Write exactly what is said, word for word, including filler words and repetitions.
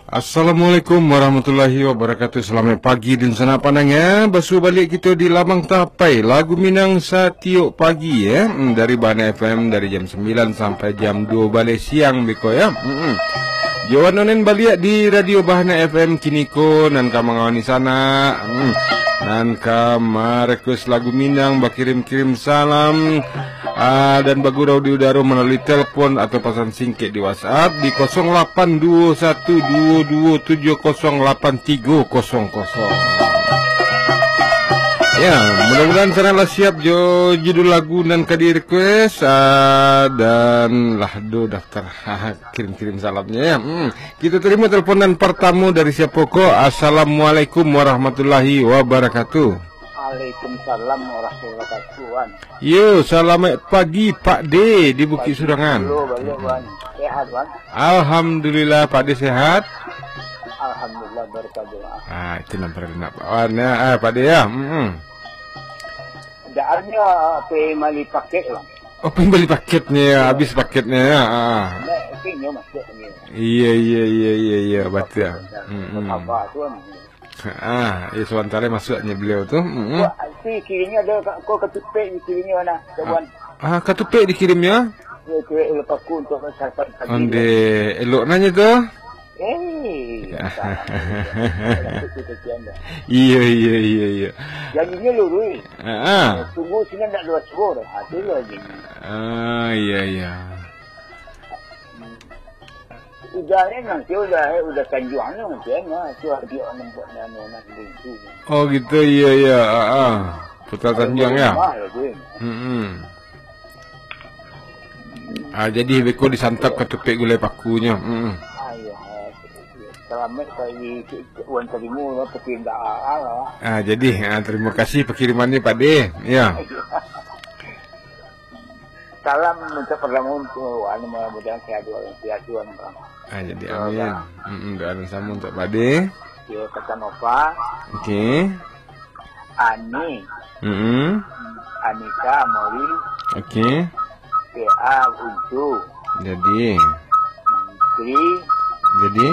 Assalamualaikum warahmatullahi wabarakatuh. Salamaik pagi dunsanak pandanga. Basu baliak kito di Lamang Tapai, lagu Minang satiok pagi, eh. Hmm, dari Bahana F M dari jam sambilan sampai jam duo baleh siang beko, ya. Hmm. Johan Onen baliak di Radio Bahana F M kiniko, nan ka mangawani sanak. Hmm. Nan ka ma-request lagu Minang, bakirim-kirim salam, ah, dan bagurau di udaro malalui telepon atau pasan singkek di WhatsApp di kosong lapan duo satu duo duo tujuh kosong lapan tigo kosong kosong. Ya, mudah-mudahan sanak lah siap jo judul lagu nan ka di-request, ah, dan lah do daftar kirim-kirim salamnya, ya. Hmm. Kita terima telepon nan pertama dari siapa ko? Assalamualaikum warahmatullahi wabarakatuh. Waalaikumsalam warahmatullahi wabarakatuh, Wan. Yo, salamaik pagi, Pak D di Bukit Surangan. Dulu baliak, Wan. Sehat, Wan? Alhamdulillah, Pak D sehat. Alhamdulillah, berkat doa. Ah, itu nan perlu nak, Pak Wan, ya. Ah, Pak D, ya. Mm-mm. Dak ada, ah, pai mali paket, Wan. Oh, pai bali paketnya, ya. Habis paketnya, ya. Ah. Dak, itu nyo masuk ni. Iya, iya, iya, iya, iya, batua. Mm-mm. Apa tu, Wan? Ah, iya, sabanta lai masuaknyo baliau tu. Mm-mm. Wah, si kirinyo ada ka-, ko katupek di kirinyo nah, kawan. Ah, katupek dikirimnyo? Ya, tu elok paku untuk sarapan pagi. Onde, elok nanyo tu? Eh, iya. Iya, iya, iya, iya. Jadinyo lurus. Ah, ah. Tunggu sini ndak dua suruh. Ha, tu lah jadinyo. Ah, iya, iya. Udah ni nanti udah, eh, udah tanjuang ni nanti, eh, nah, tu dia nampak ni anu nak lintu. Oh, gitu, iya, iya, ah, ah. Putar tanjuang, ya? Rumah lah tu, eh. Mm-mm. Ah, jadi beko disantap katupek gulai pakunyo. Mm-mm. Ah, iya, eh, selamat kali Wan Talimu lah, tapi ndak, ah, lah. Ah, jadi, ah, terima kasih pengiriman ni, Pak De. Ya. Salam untuk pertama untuk anu, mudah-mudahan sehat, sehat, Wan. Ah, jadi, amin. Mm-mm, doa nan samo untuk Pak De. Ya, Kak Nova. Okey. Ani. Mm-mm. Anita Amori. Okey. T A Uncu. Jadi. Tri. Jadi.